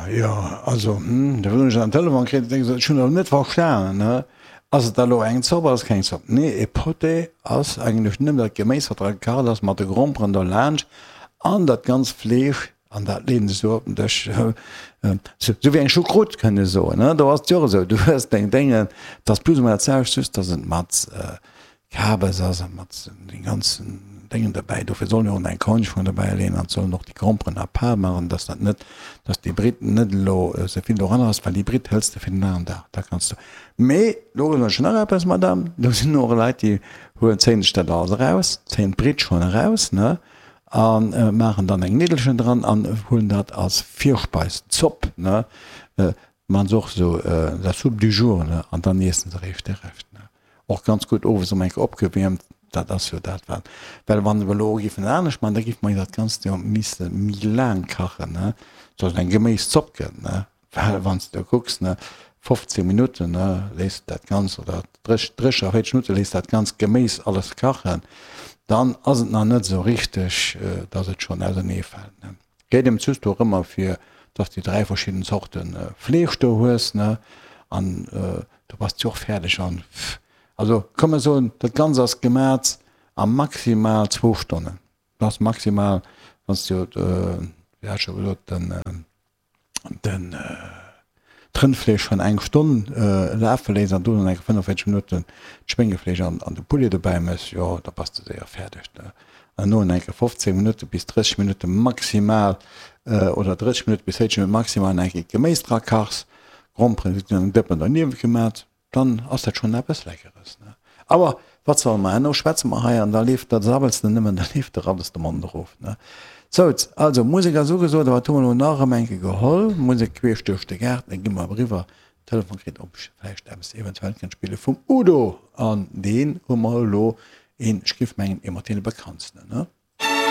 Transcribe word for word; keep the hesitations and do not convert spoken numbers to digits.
jo, also, hm, da hunn ech en Telefon kritt, denke se, ech hunn elo net verstanen, ne, ass et da elo eng Zopp, ass et keng Zopp? Nee, e Potée ass eigentlech nëmmen dat Geméis, wat dra gekacht ass, mat de Gromperen dolaanscht an dat ganzt Fleesch, an dat leeën se esou op den Dësch, esou wéi eng Choucroute, kënnt ee soen, ne, do ass et jo och esou, du hues deng Déngen, et ass plus ou moins dat selwecht, just dass et mat Kabes ass a mat den ganzen Déngen derbäi. Dofir soll een och eng Cornischong derbäi leeën an sollen och déi Gromperen à part maachen, dass dat net, dass déi Britt net elo esou vill doranner ass, well déi Britt hëls de fir den aneren Dag, da kanns du. Mee do soen ech nach eppes, Madame, do sinn och Leit, déi huelen, zéien sech dat alles eraus, zéien d'Britt schonn eraus, ne, a maachen dann eng Niddelchen dran an huelen dat als Virspeis, Zopp, ne, maachen se och esou, la soupe du jour, ne, an dann iessen se eréischt de Rescht, ne. Och ganz gutt owes erëm eng Kéier opgewiermt, dat ass jo dat wat, well wann mer elo géifen et anescht maachen, da géife mer jo dat Ganzt jo misse méi laang kachen, ne, sodass et eng Geméiszopp gëtt, ne, well wann s de do kucks, ne, fofzéng Minutten, ne, léiss de dat Ganzt, oder drécher véierzeg Minutte léiss dat ganzt Geméis alles kachen, dann ass et nach net esou richteg, dass et schonn ausernee fält, ne. Geet ëm just dorëmmer fir dass de dräi verschidden Zorte Fleesch do hues, ne, an du bass jo och fäerdeg an also komm mer soen, dat Ganzt ass gemat a maximal zwou Stonnen. Dat ass maximal, wann s du, wéi hat ech scho gesot, den den d'Rëndfleesch schonn eng Stonn lafe léiss an dono eng fënnefenvéierzeg Minutten d'Schwéngefleesch an an de Poulet dobäi méchs, jo da bass de séier fäerdeg, ne. An dono eng Kéier fofzéng Minutte bis drësseg Minutte maximal oder drësseg Minutte bis véierzeg Minutte maximal eng Kéier d'Geméis dra kachs, Gromperen sinn an engem Dëppen derniewent gemat, dann ass dat schonn eppes Leckeres, ne? Awer wat solle mer, herno schwätze mer hei an da leeft, da sabbels de nëmmen, da leeft der alles de Mond erof, ne? Souz, also Musek ass ugesot, a wat hu mer elo nach erëm eng Kéier geholl? Musek queesch duerch de Gaart, da gi mer eriwwer, Telefon kritt, ob ech vläicht eppes eventuell kënnt spille vum Udo, an deen hu mer elo een, ech géif mengen, ee mat deene bekanntsten, ne?